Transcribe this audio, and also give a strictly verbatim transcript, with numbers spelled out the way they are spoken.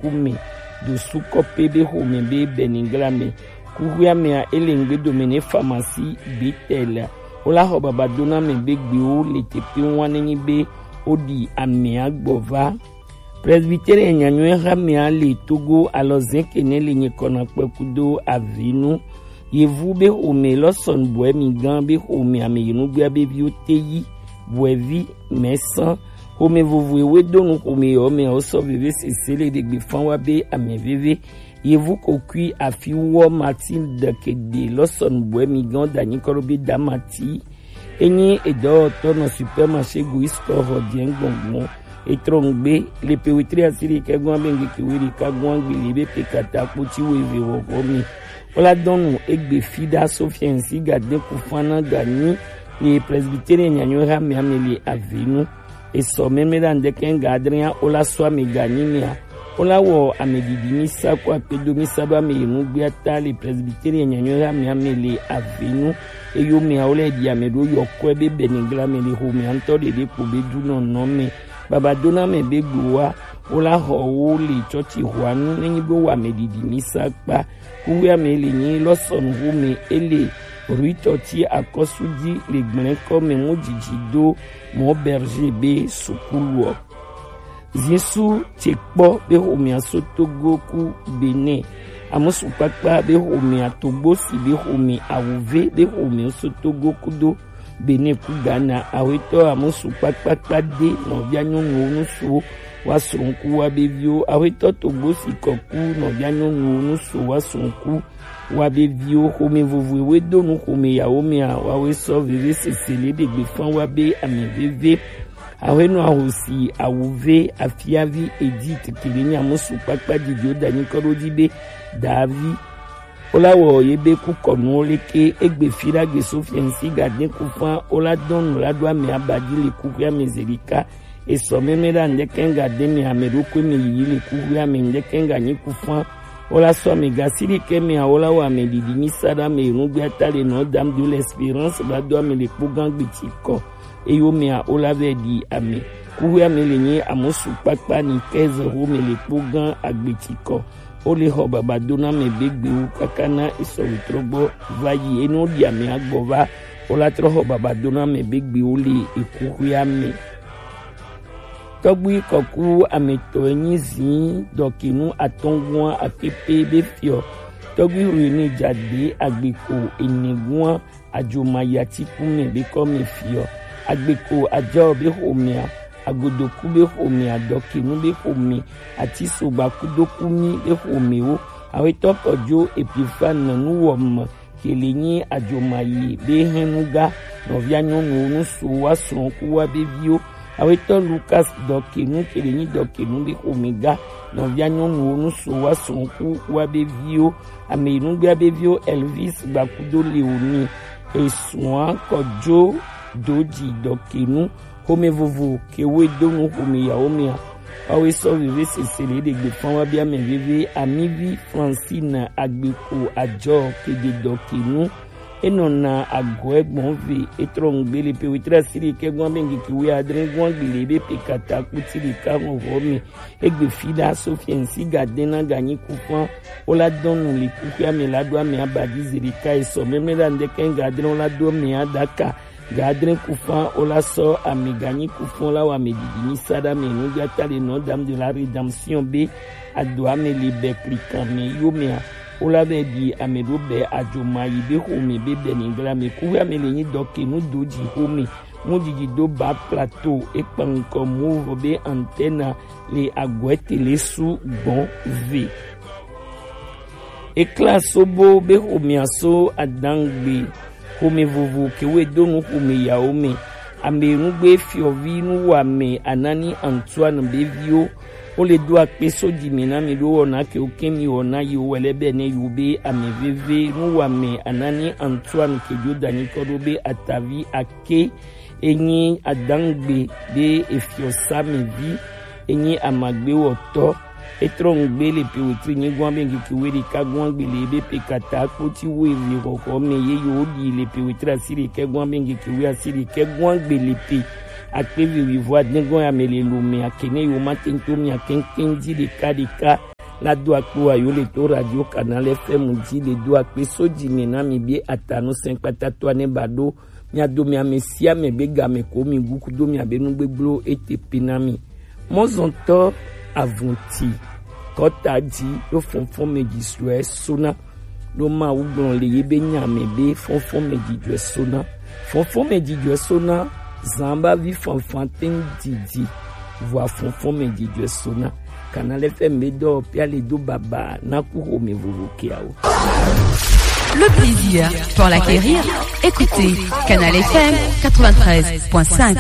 xome do sukɔpe be xome be Bɛnigla mɛ. Kuxuia mɛa, ele ŋgbe dome ne pharmacie Betel. Wo la xɔ baba do na mɛ be gbewo le tepe ŋua ne nyi be wo ɖi amɛa gbɔ va. Presbytérien nyanyɔe xamɛa le Togo alɔ zɛn ke ne le nyikɔ na kpɛkudo avinu. Yevu be xome lɔ sɔn bɔɛ mi gan be xome ame yi nugbea be viwo te yi bɔɛ vi mɛ san. Xome vovo ewe do nu xome yɔ mɛ o sɔ veve sese le ɖegbe fan wa be ame veve. Yevu kokui afi wɔ Matilde Kede lɔ sɔn bɔɛ mi gan da nyikɔ ɖo be da Mati. Enyi edɔwɔtɔ nɔ supermarché Goïs Store xɔ diɛ gbɔngbɔn. Etrɔ ŋgbe le pe wetri asiri kɛ gɔn abe ŋgeke weri ka gɔn agbeli be pe kata kpoti wo eve wɔwɔ mi. Wo la dɔn nu egbe fi ɖa Sofiɛn si ga de ku fan na ga nyi le presbytérien nyanyɔ ha mɛ ame le avenu. Esɔ mɛmɛ ɖa ŋdɛkɛ ŋga adrɛn ya wo la sɔ ame ga nyi mia. Wo la wɔ ame ɖiɖi mi sa ko akpedo mi sa ɖo ame yi nugbea ta le presbytérien nyanyɔ ha mɛ ame le avenu. Eyo mia wo lɛ ɖi ame ɖo yɔkɔɛ be Bɛnigla mɛ le xomea ŋutɔ ɖeɖe kpo be dunɔnɔ mɛ. Baba dona mɛ be gbowa wo la xɔ wo le tsɔtsi xɔanu nenyi be wo ame ɖiɖi mi sa kpa. Kuxuia mɛ le nyi lɔsɔnu xome ele rue tɔtsi akɔsu dzi le gblɛnkɔ mɛ mu dzidzi do mɔ berger be sukuluɔ. Zisu tse kpɔ be xomea so Togo ku Benin. Amusu kpakpa be xomea Togbosi be xome awuve be xomea so Togo kudo Benin ku Ghana. Awetɔ amusu kpakpakpa de nɔvia nyɔnuwo nusuwo wa srɔ̃ku wa be viwo. Awetɔ Togbosi kɔku nɔvia nyɔnuwo nusuwo wa srɔ̃ku wa be viwo. Xome vovoewe do nu xome yawo mea wawe sɔ veve sese le ɖegbe fan wa be ame veve. Awenɔ ahosi awuve afiavi Edith kele nyamusu kpakpa didio da nyikɔ ɖo dzi be Davi. Wo la wɔ ye be kukɔnuwo leke egbe fi ɖa gbe Sofiɛn si ga de ku fan wo la dɔn nu la ɖo ame abadi le kuxuia mɛ zelika. Esɔ mɛmɛ ɖa ŋdɛkɛ ŋga de mɛ ame ɖokui mɛ yiyi le kuxuia mɛ ŋdɛkɛ ŋga nyi ku fan. Wo la sɔ ame gasi ɖekɛ mɛ awo la wɔ ame ɖiɖi mi sa ɖa ame nugbea ta le nɔ dam de l'espérance la do ame le kpo gan gbeti kɔ. Eyo mea wo la vɛ ɖi ame. Kuxuia mɛ le nyi amusu kpakpa ni kɛze xome le kpo gan agbeti kɔ. Wo le xɔ baba do na mɛ be gbewo kaka na esɔ wetrɔ gbɔ va yi enu ɖi ame agbɔ va. Wo la trɔ xɔ baba do na mɛ be gbewo le ekuxuia mɛ. Tɔgbui kɔku ametɔ enyi zin dɔkinu atɔngua akepe be fiɔ. Tɔgbui rui ni jade agbeko enegua Ajomayi Atiku mɛ be kɔ mɛ fiɔ. Agbeko Ajao be xomea, Agodoku be xomea, Dɔkinu be xome, Atisogba kudo Kumi be xomewo. Awetɔ Kɔjo Epifane nuwɔme kele nyi Ajomayi be hɛnuga nɔvia nyɔnuwo nusuwo wa srɔ̃ku wa be viwo. Awetɔ Lukas Dɔkinu kele nyi Dɔkinu be xomega nɔvia nyɔnuwo nusuwo wa srɔ̃ku wa be viwo. Ame yi nugbea be viwo Elvis Gbakudo Leoni, esua Kɔjo Doji Dɔkinu, xome vovo ke wo do nu xome yawo mea. Wawe sɔ veve sese le ɖegbe fan wa be ame veve Amivi Francine Agbeko Ajɔ kede Dɔkinu. Enɔna agɔe gbɔn ve etrɔ ŋgbe le pe wetre asiri ke gbɔn be ŋgeke we adre gbɔn gbe le be pe kata kuti ɖeka ŋɔŋɔ me. Egbe fi ɖa Sofiɛn si ga de na ga nyi ku fan. Wo la dɔn nu le kuxuia me la ɖo ame abadi ze ɖeka esɔ mɛmɛ ɖa ŋdɛkɛ ŋga adre wo la do ame aɖaka. Ga adre ku fan wo la sɔ ame ga nyi ku fan la wɔ ame ɖiɖi mi sa ɖa me nu ga ta le nɔ dam de la rédemption be ado ame le bɛ klikan me yo mea. Wo la bɛ ɖi ame ɖo bɛ Ajomayi be xome be Bɛnigla me. Kuxuia me le nyi Dɔkinu Doji xome. Mu didi do ba plateau ekpa ŋkɔ mu vɔ be antenne le agɔɛ tele su gbɔn ve. Ekla sobo be xomea so adangbe xome vovo ke we do nu xome yawo me. Ame nugbe fiɔvi nuwɔame Anani Antoine be viwo. Wo le do akpe so dzi mi na mi ɖo wɔna ke wo ke mi wɔna yi wo wɛlɛ bɛ ne yi wo be ame veve nuwɔame Anani Antoine ke jo danyi kɔ ɖo be atavi ake. Enyi adangbe be efiɔ sa me vi. Enyi amagbewɔtɔ. Etrɔ ŋgbe le pe wetri nyi gwan be ŋkeke we ɖeka gwan gbe le be pe kata kpoti wo eve xɔxɔ me ye yo ɖi le pe wetri asi ɖekɛ gwan be ŋkeke we asi ɖekɛ gwan gbe le pe akpe vi wi vɔ adin gwan ya me le lo me akene yo ma tento mi akɛnkɛn dzi ɖeka ɖeka. La do akpo ayo le to Radio Canal F M ji le do akpe so ji mi na mi bie atanu sen kpata to ane ba do. Mi ado mi ame si ame be game ko mi guku do mi abe nu gbegblɔ ete pe na mi. Mɔzɔntɔ avunti kɔta ji do fɔnfɔn me ji sue sona. Do ma wu gblɔ le ye be nya me be fɔnfɔn me ji jue sona. Fɔnfɔn me ji jue sona. Zan ba vi fanfan ten didi. Vua fɔnfɔn me ji jue sona. Canal F M be do pia le do baba na ku ho me vovo ke awo. Le plaisir pour l'acquérir. Écoutez Canal F M quatre-vingt-treize point cinq.